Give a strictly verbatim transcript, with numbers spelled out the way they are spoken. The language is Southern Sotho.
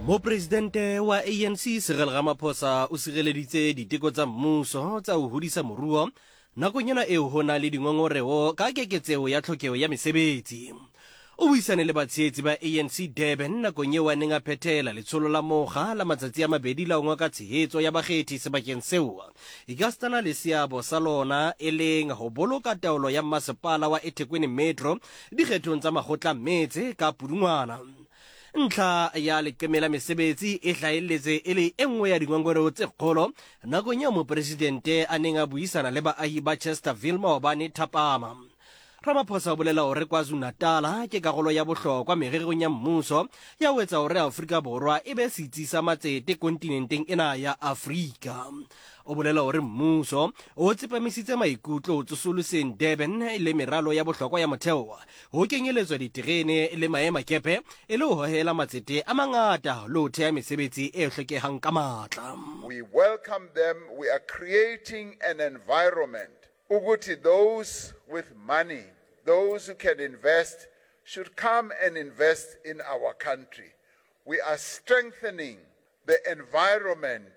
Mopresidente wa A N C Cyril Ramaphosa o sireleditse diteko tsa mmuso tsa ho hodisa moruo nakong ena eo ho na le dingongoreho ka keketseho ya tlhokeho ya mesebetsi. O buisane le batshehetsi ba A N C Durban nakong eo a neng a phethela letsholo la mokga la matsatsi a mabedi la ho ngoka tshehetso ya bakgethi sebakeng seo ekasitana le seabo sa lona e leng ho boloka taolo ya masepala wa eThekwini Metro dikgethong tsa makgotla metse ka Pudungwana. Ntlha ya leqeme la mesebetsi e hlahelletse e le e nngwe ya dingongoreho tse kgolo nakong eo mopresidente a neng a buisana le baahi ba Chesterville maobane thapama. Ramaphosa o bolela hore KwaZulu-Natal ke karolo ya bohlokwa mererong ya mmuso ya ho etsa hore Afrika Borwa e be setsi sa matsete kontinenteng ena ya Afrika. O bolela hore mmuso o tsepamisitse maikutlo ho tsosoloseng Durban le meralo ya bohlokwa ya motheo, ho kenyeletswa diterene le maemakepe, e le ho hohela matsete a mangata le ho theha mesebetsi e hlokehang ka matla. We welcome them. We are creating an environment ukuthi those with money, those who can invest, should come and invest in our country. We are strengthening the environment.